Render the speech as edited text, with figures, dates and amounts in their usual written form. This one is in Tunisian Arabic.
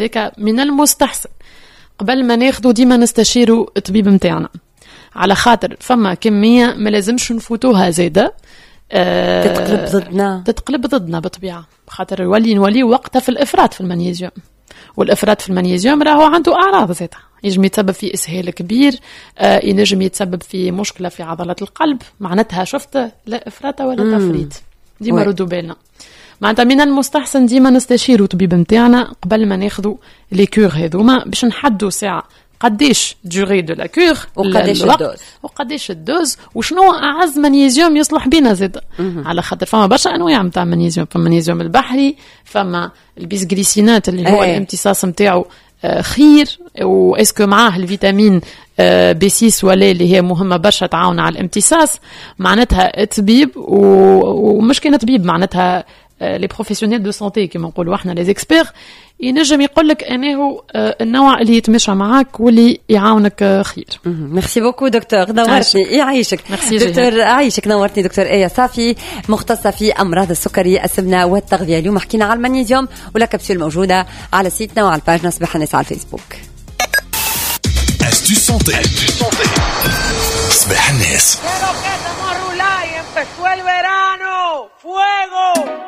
هذاك من المستحسن قبل ما ناخذوا ديما نستشيروا الطبيب نتاعنا، على خاطر فما كمية ما لازمش نفوتوها زاده. تتقلب ضدنا. تتقلب ضدنا بالطبيعه، خاطر نولي وقتها في الافراط في المغنيسيوم، والافراط في المغنيسيوم راهو عنده اعراض زاده، ينجم يتسبب في اسهال كبير، ينجم يتسبب في مشكلة في عضلات القلب. معناتها شفت، لا افراط ولا تفريط، ديما ردوا بالنا. معناتها من المستحسن ديما نستشيروا طبيب نتاعنا قبل ما ناخذوا les cures هذوما، باش نحدوا ساعة قديش durée de la cure وقديش ال dose. وقديش ال dose، وشنو اعز مغنيسيوم يصلح بينا زاد، على خاطر فما برشا انواع نتاع مغنيسيوم. فما مغنيسيوم البحري، فما ال bisglycinate اللي هو الامتصاص نتاعو خير، و est-ce que معاه الفيتامين B 6 ولا اللي هي مهمة برشا تعاون على الامتصاص. معناتها طبيب ومش كان طبيب، معناتها les professionnels de santé كيما نقولوا احنا، les experts، ينجم يقول لك انه النوع اللي يتمشى معاك واللي يعاونك خير. merci beaucoup docteur، نورتني، يعيشك. ميرسي. دكتور، يعيشك، نورتني دكتور ايه صافي، مختصة في امراض السكري، السمنة والتغذيه. اليوم حكينا على المغنيسيوم و la capsule موجودة على site نا وعلى ال page صباح الناس على الفيسبوك. Astuce santé. صباح الناس. Empezó el verano. ¡Fuego!